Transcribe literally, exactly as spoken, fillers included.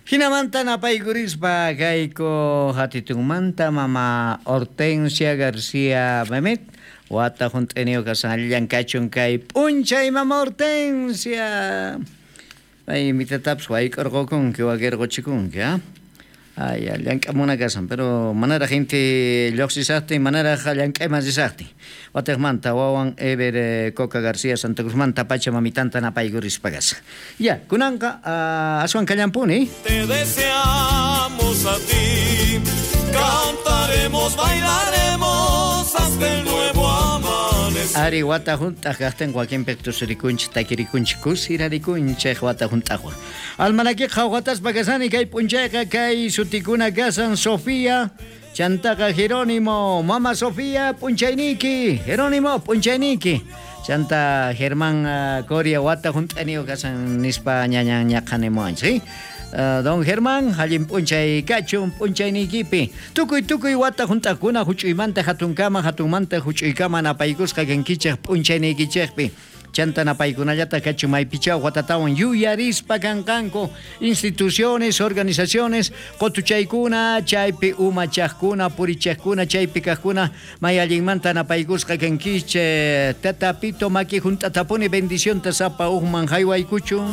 Jinamanta napaykurispa kayku hatitunmanta mama Hortensia García Mehmet wata junt'iniyuq kasan allillan kachun kay p'unchay mama Hortensia. Ay mitatapis wayk'urqukunki wakirquchikunki, ha? Ay, llank'amuna kasan, pero manaraq inti lluqsisaqtin, manaraq llank'ayman risaqtin. Watiqmanta wawan Ever eh, Coca García Santa Cruzmanta pacha mamitanta napaykurispa kasan. Ya, kunanqa uh, aswan kallampuni. Te deseamos a ti, cantaremos, bailaremos hasta el nuevo amanecer. Ari wata junt'aq kaqtin wakinpiq tusurikunchik, takirikunchik, kusirarikunchik wata junt'aqwan. Almanakiqa qhawqataspa kasani kay p'unchayqa kay sutikuna kasan Sofía, chantaqa Jerónimo, Mama Sofía p'unchayniyki, Jerónimo p'unchayniyki. Chanta Germán uh, Coria wata junt'aniyuq kasan nispa ñañan ñaqanimuwanchik, ¿sí? Uh, don Germán, allin p'unchay kachun p'unchayniykipi. Tukuy tukuy wata junt'aqkuna huch'uymanta hatunkama, hatunmanta huch'uykama napaykusqa kankichej p'unchayniykichejpi. Chanta napaykunallata kachun maypichaw watatawan yuyarispa kanqanku instituciones, organizaciones, qotuchaykuna, chaypi umachaqkuna, purichaqkuna, chaypi kaqkuna, may allinmanta napaykusqa kankichej. Tata Pito maki junt'atapuni bendicionta sapa uqman haywaykuchun.